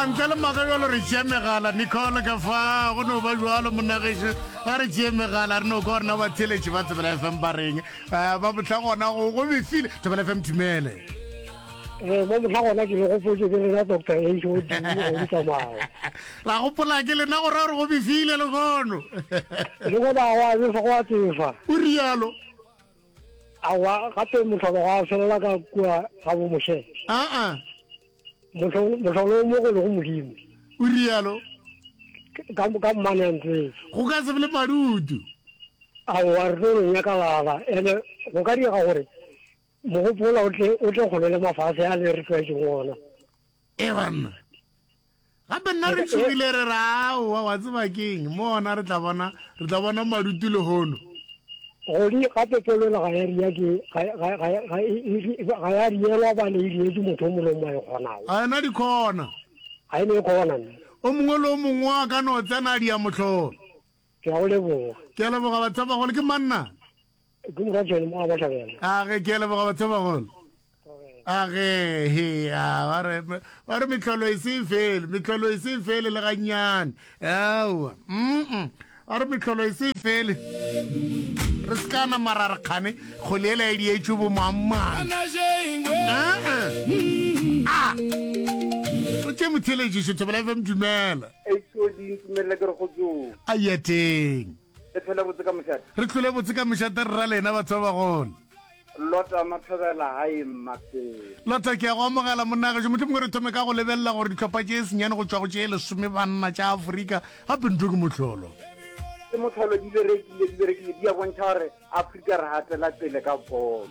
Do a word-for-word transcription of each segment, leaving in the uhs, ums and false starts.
ntle le maaka bjalo re tšea megala nicole ka fa go no ba bjalo monagešo ga re tšee megala re no kwa rena batheletši ba Thobela FM ba reng Eh, ba bohla gona go go befile Thobela FM dumele Eh, mo mohla gona ke le gopotse ke lena doctor h o d go tsamaya ra gopola ke lena gore gore go befile lekono le gona wa befa go a tsefa o rialo aowa gape mohlolo ga a felela ka kua ga bo moshe aa mohlolo o mogolo go modimo o rialo ka ka mmane a ntsetse go ka se be le madutu aowa re tlo no nyakalala ene go ka diega gore mogopola o tle o tle kgole le mafase a le re tlwaetseng ona e banna gape nna re tšhogile re re aowa wa tseba keng mo ona re tla bona re tla bona madutu lehono godi gape polelo ga ya ria ke ga ga ga ga e- e- ga ya rielwa bane e rietse motho o mongwe le o mongwe a e kgonago ga ena dikhona ga e ne e kgona nna o mongwe le o mongwe a ka no tsena a dia mohlolo ke a go leboga ke a leboga batho ba bagolo ke manna ke moratšhene mo a batlhabela a ge ke a leboga batho ba bagolo a ge he a ba re ba re mehlolo e se e fele mehlolo e se e fele le gannyane aowa mm ba re mehlolo e se e fele re se ka nama ra re kgane kgole ela e dietšwe bo mang-mang a o tše motheletšišo Thobela FM dumela HOD ntumelele ke re go tsoa a yeteng le tlhole botse ka mošate re tlhole botse ka mošate re ra lena batho ba bagolo lota mathobela gae mmapeng lota ke ya go amogela monnagešo motlho mongwe re thome ka go lebelela gore dihlopha tše senyane go tšwa go tše lesome banna tša aforika gape ntho ke mohlolo ke mohlolo di berekile di berekile di a bontšha gore afrika re gatela pele ka bolo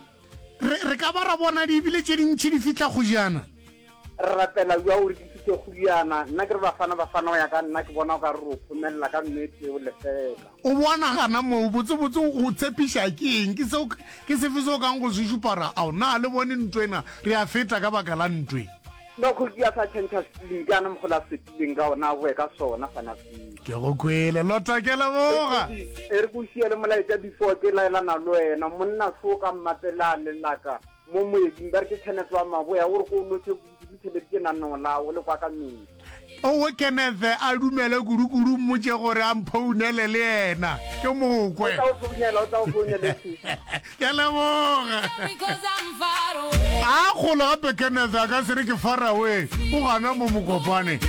re re ka ba ra bona di ebile tše dintšhi di fihla kgojana re rapela bja gore di fihle kgojana nna ke re bafana bafana go ya ka nna ke bona o ka re o phomelela ka nnete o lefela o bona gana moo botsebotse go tshepiša ke eng ke seo ke sefe se o kang go se šupa ra ao na le bone ntho ena re a feta ka baka la ntwe no kgoši a sa change scheme ke ana mogolo a fetileng ka ona a boe ka sona fana feel ke go kwele lota ke leboga e re ko siele molaetša before ke laelana le wena monna so ka mmapela lelaka mo moeding ba re ke kenneth wa maboya o re ko o lothe kudu theleditše nanong lao le kwa ka medi owe kenneth a dumele kudu-kudu mmotše gore a mphounele le yena ke mokwe o tla o founela o tla o founele ke leboga a kgolo gape kenneth a ka se re ke far away o gana mo mokopane.